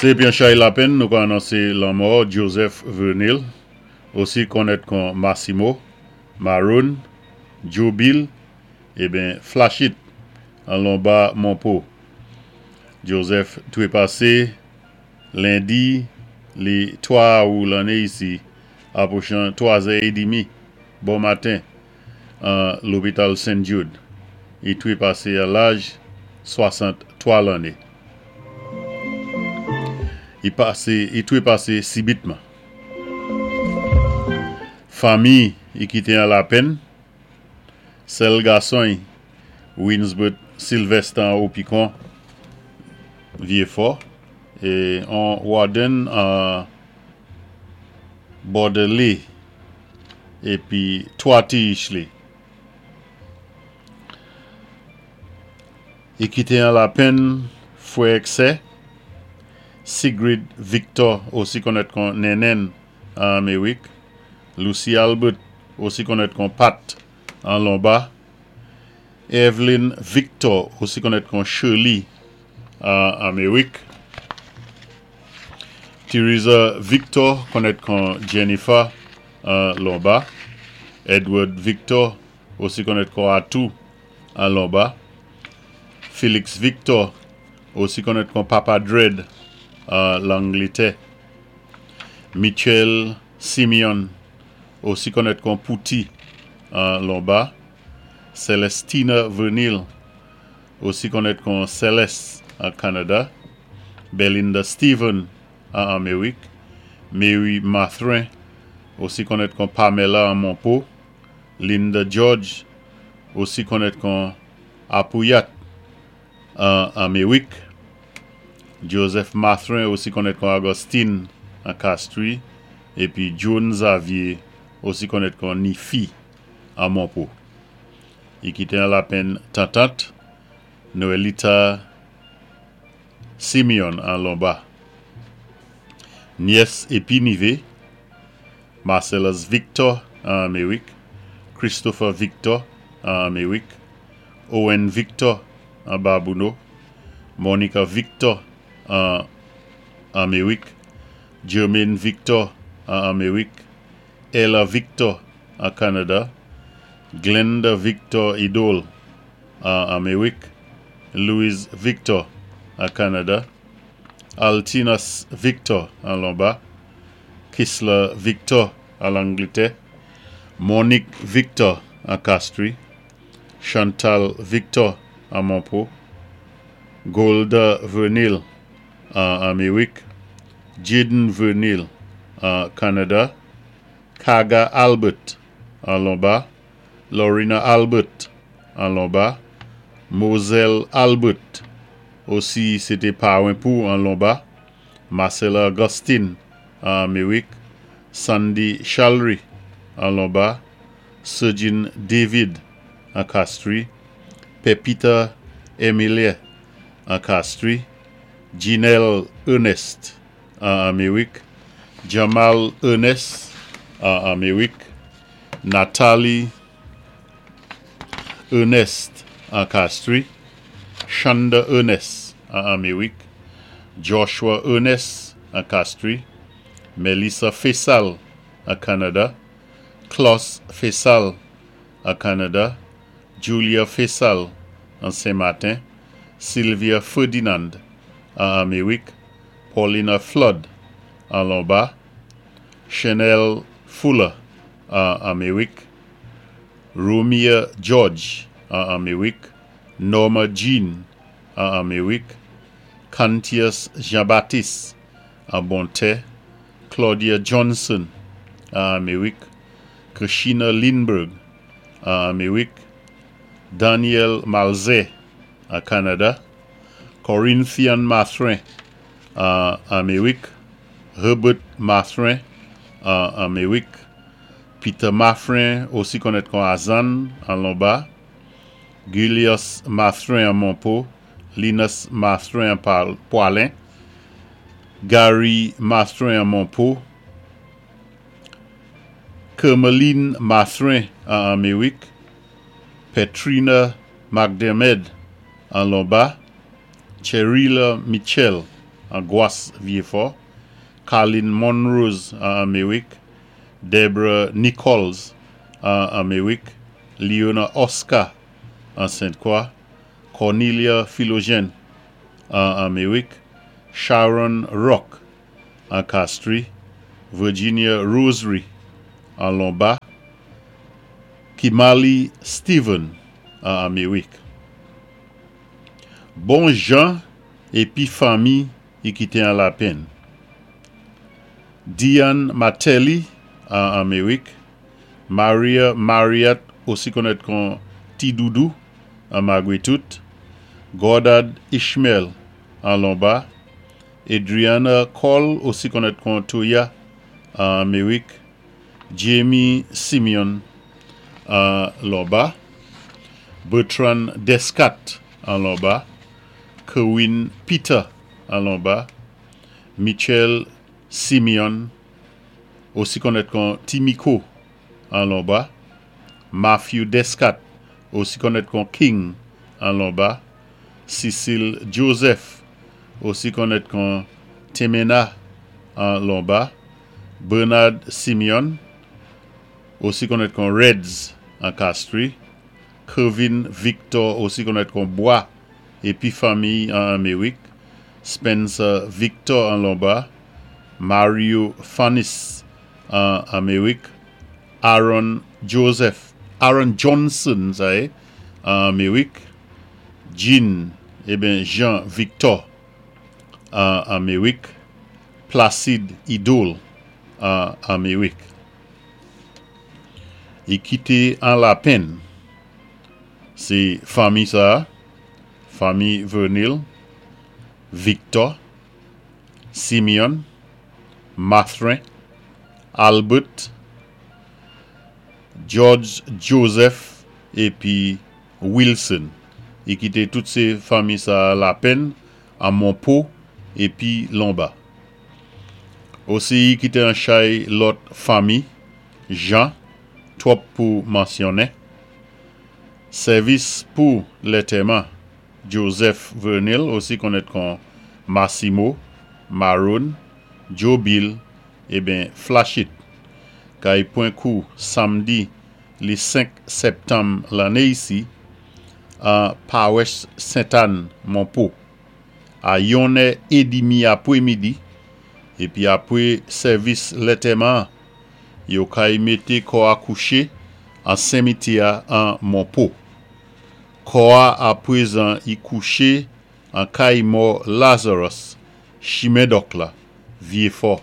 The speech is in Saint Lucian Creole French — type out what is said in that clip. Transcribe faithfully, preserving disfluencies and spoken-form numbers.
Sé pi an chay lapenn nou ka anonsé lanmò Joseph Vernil, osi konnèt kon Massimo, Maroon, Joe Bill, ébyen Flashit an Lomba Monpo. Joseph twépasé lendi li twa awou lanné isi apwochan twazè édmi bon maten an lopital Saint Jude. I twépasé a laj swasant-twa lanné. I pasé, i twépasé sibitman. Fanmi i kité an lapenn, sèl gason Winsbert Sylvester an Opikon Vyéfò é an Warden an Bordelais épi twa ti li. I kité an lapenn fwè èk sè, Sigrid Victor, osi konnèt kon Nenen an Améwik, Lucy Albert, osi konnèt kon Pat an Lomba, Evelyn Victor, osi konnèt kon Shirley an Améwik, Teresa Victor, konnèt kon Jennifer an Lomba, Edward Victor, osi konnèt kon Atou an Lomba, Félix Victor, osi konnèt kon Papa Dread an Langlétè, Michel Simeon, osi konnèt kon Pouti an Lomba, Celestina Vernil, osi konnèt kon Céleste an Kanada, Belinda Stephen an Améwik, Mary Mathrin, osi konnèt kon Pamela an Monpo, Linda George, osi konnèt kon Apouyat an Améwik, Joseph Mathrin, osi konnèt kon Augustine an Castries, épi John Xavier, osi konnèt kon Nifi an Monpo. I kité an lapenn tantant, Noelita Simeon an Lomba. Nyès épi nivé, Marcellus Victor an Améwik, Christopher Victor an Améwik, Owen Victor an Babouno, Monica Victor an Améwik, Jermaine Victor an Améwik, Ella Victor an Kanada, Glenda Victor Idol an Améwik, Louise Victor an Kanada, Altinas Victor an Lomba, Kisla Victor an Langlétè, Monique Victor an Castries, Chantal Victor an Monpo, Golda Vernil an Améwik, Jaden Vernil an Kanada, Kaga Albert an Lomba, Lorena Albert an Lomba, Moselle Albert, osi sé té pawen pou an Lomba, Marcella Augustine an Améwik, Sandy Chalry an Lomba, Sergin David an Castries, Pepita Emilia an Castries, Janelle Ernest an Améwik, Jamal Ernest an Améwik, Nathalie Ernest an Castries, Shonda Ernest an Améwik, Joshua Ernest an Castries, Melissa Faisal an Kanada, Klaus Faisal an Kanada, Julia Faisal an Saint-Martin, Sylvia Ferdinand an Améwik, Paulina Flood an Lomba, Chanel Fuller an Améwik, Romia George an Améwik, Norma Jean an Améwik, Cantius Jean-Baptiste an Bonté, Claudia Johnson an Améwik, Krishina Lindbergh an Améwik, Daniel Malzé an Kanada, Corinthian Mathrin an Améwik, Herbert Mathrin an Améwik, Peter Mathrin, osi konnèt kon Azan an Lomba, Julius Mathrin an Monpo, Linus Mathrin an Poilin, Gary Mathrin an Monpo, Kermeline Mathrin an Améwik, Petrina McDermid an Lomba, Cherila Mitchell an Gwas Vyéfò, Carlin Monrose an Améwik, Debra Nichols an Améwik, Leona Oscar an Sainte-Croix, Cornelia Philogène an Améwik, Sharon Rock an Castries, Virginia Rosary an Lomba, Kimali Steven an Améwik. Bon jan épi fanmi i kité an lapenn. Diane Matelli an Améwik, Maria Mariette osi konnèt kon Ti Doudou an Magwitout, Goddard Ishmael an Lomba, Adriana Cole osi konnèt kon Toya an Améwik, Jamie Simeon an Lomba, Bertrand Descat an Lomba, Kerwin Peter an Lomba, Michel Simeon osi konnèt kon Timiko an Lomba, Matthew Descat osi konnèt kon King an Lomba, Cecile Joseph osi konnèt kon Temena an Lomba, Bernard Simeon osi konnèt kon Reds an Castries, Kevin Victor osi konnèt kon Bois épi fanmi an Améwik, Spencer Victor an Lomba, Mario Fanis an Améwik, Aaron Joseph, Aaron Johnson sa yé, an Améwik, Jean, ébyen Jean Victor an Améwik, Placide Idol an Améwik. I kité an lapenn. Sé fanmi sa, fanmi Vernil, Victor, Simeon, Mathrin, Albert, George Joseph épi Wilson. I kité tout sé fanmi sa lapenn an Monpo épi Lomba. Osi i kité an chay lòt fanmi, Jean, twòp pou mansyonnen. Sèvis pou lantèman, Joseph Vernil, osi konnèt kon Massimo, Maroon, Joe Bill, ébyen Flashit. Kay pwan kou samdi li senk septanm lanné isi an Pawas Sainte-Anne Monpo. A yon è édmi apwé midi, épi apwé sèvis lantèman, yo kay mété kò a kouché an simityè an Monpo. Kò a apwézan i kouché an kay mò Lazarus, Chimen Dòk la, Vyéfò.